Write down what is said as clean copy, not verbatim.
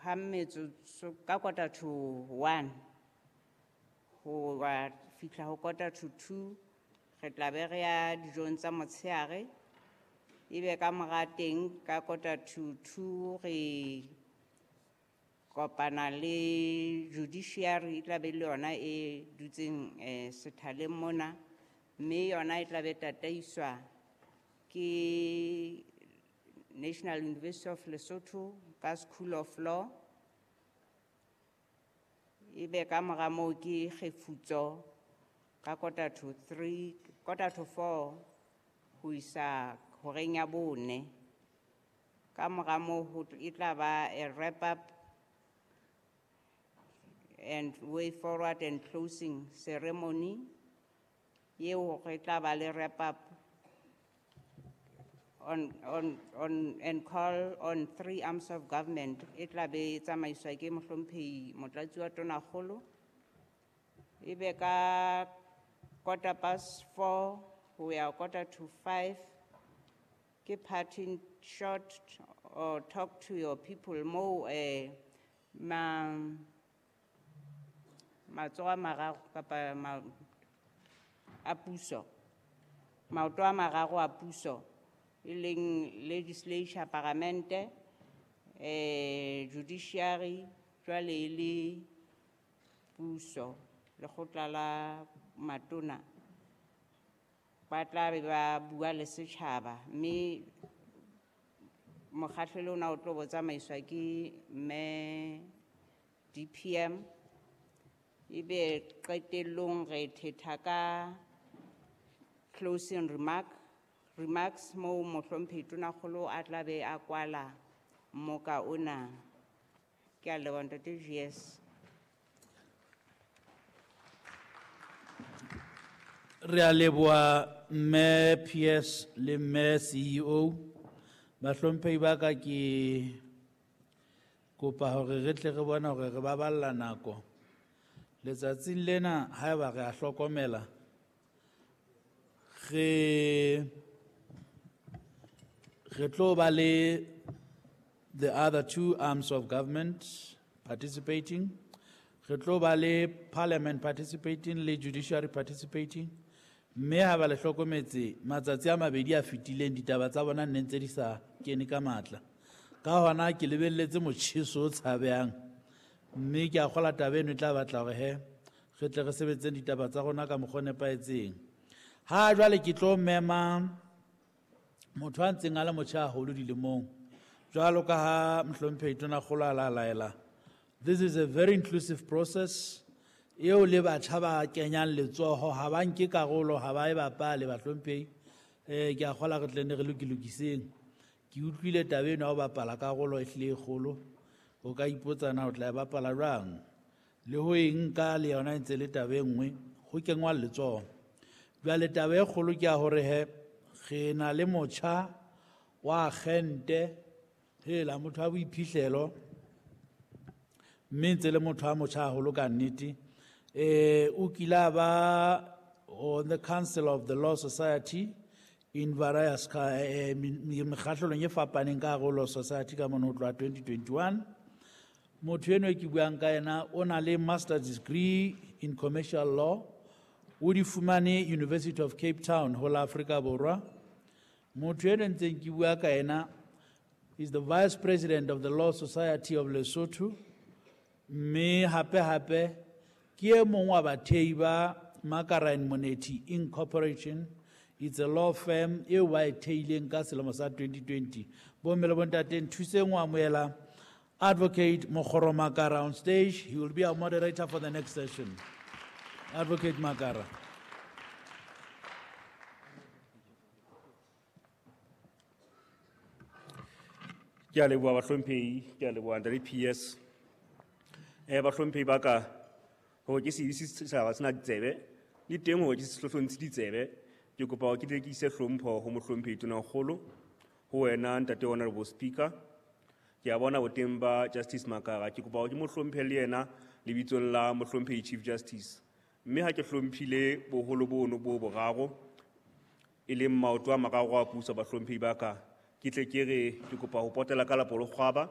ha metsotso ka 12:45 ho wa fihla ho 1:45 re tla be re ya dijong tsa motshehare. Ebe ka mora teng ka 1:45 re kopana le judiciary, e tla be le yona e dutseng sethaleng mona, mme yona e tla be tataiswa ke National University of Lesotho ka School of Law. Ebe ka mora moo ke kgefutso ka 2:45, 3:45 ho isa horeng ya 4. Ka mora moo e tla ba a wrap up and way forward and closing ceremony. Eo re tla ba le wrap up on and call on three arms of government. E tla be e tsamaiswa ke mohlomphehi Motlatsi wa Tonakgolo. Ebe ka 4:15 ho ya 4:45 ke parting shot or talk to your people moo ma matsoho a mararo kapa a puso, maoto a mararo a puso, e leng legislature, paramente, judiciary, jwale e le puso, lekgotla la matona, ba tla be ba bua le setjhaba, mme mokgahlelo ona o tlo bo tsamaiswa ke mme DPM. Ebe qetellong re thetha ka closing remarks moo mohlomphehi Tonakgolo a tla be a kwala mmoka ona. Ke a leboha ntate GS. Re a leboha mme PS le mme CEO. Bahlomphehi ba ka, ke kopa hore re tle re bone hore re baballa nako. Letsatsing lena haeba re a hlokomela, re tlo ba le the other two arms of government participating, re tlo ba le parliament participating le judiciary participating, mme ha ba le hlokometse matsatsi a mabedi a fetileng ditaba tsa bona nne ntse di sa kene ka matla. Ka hona ke lebelletse motjheso o tshabehang, mme ke a kgola taba eno e tla batla hore he re tle re sebetseng ditaba tsa rona ka mokgwa o nepahetseng. Ha jwale ke tlo mema motho a ntseng a le motjha haholo dilemong, jwalo ka ha mohlomphehi Tonakgolo a la laela. This is a very inclusive process eo le batjha ba kenyang letsoho, ha ba nke karolo, ha ba e bapale bahlomphehi. Ke a kgola re tle ne re lokilokiseng. Ke utlwile taba eno ya ho bapala karolo e hlile e kgolo. O ka ipotsa na o tla e bapala jwang, le ho e nka le yona e ntse le taba e nngwe, ho kengwa letsoho. Jwale taba e kgolo ke ya hore he re na le motjha wa agente, hela motho wa boiphihlelo, mme ntse le motho wa motjha haholo ka nnete. O kile a ba on the Council of the Law Society in various mekgahlelong e fapaneng ka hare ho Law Society ka mona ho tloha 2021. Motho enwa e ke buang ka yena o na le master's degree in commercial law, o di fumane University of Cape Town ho la Afrika Borwa. Motho enwa ntseng ke bua ka yena is the vice president of the Law Society of Lesotho, mme hape hape ke e mong wa bathehi ba Makara and Monethi Incorporation. It's a law firm eo ba e theileng ka selemo sa 2020. Bomme le bontate, nthuseng ho amohela Advocate Mokgoro Makara on stage. He will be our moderator for the next session. Advocate Makara. Ke a leboha bahlomphehi, ke a leboha ntate PS. Bahlomphehi ba ka, hore ke se ise setjhaba sena ditsebe, le teng hore ke se hlohlontshe ditsebe, ke kopa hore ke tle ke ise hlompho ho mohlomphehi Tonakgolo, ho wena ntate Honorable Speaker. Ke a bona boteng ba Justice Makara, ke kopa hore ke mo hlomphe le yena lebitsong la mohlomphehi Chief Justice. Mme ha ke hlomphile boholo bono bo boraro, e leng maoto a mararo a puso bahlomphehi ba ka, ke tle ke re ke kopa ho potela ka lapolokgwaba.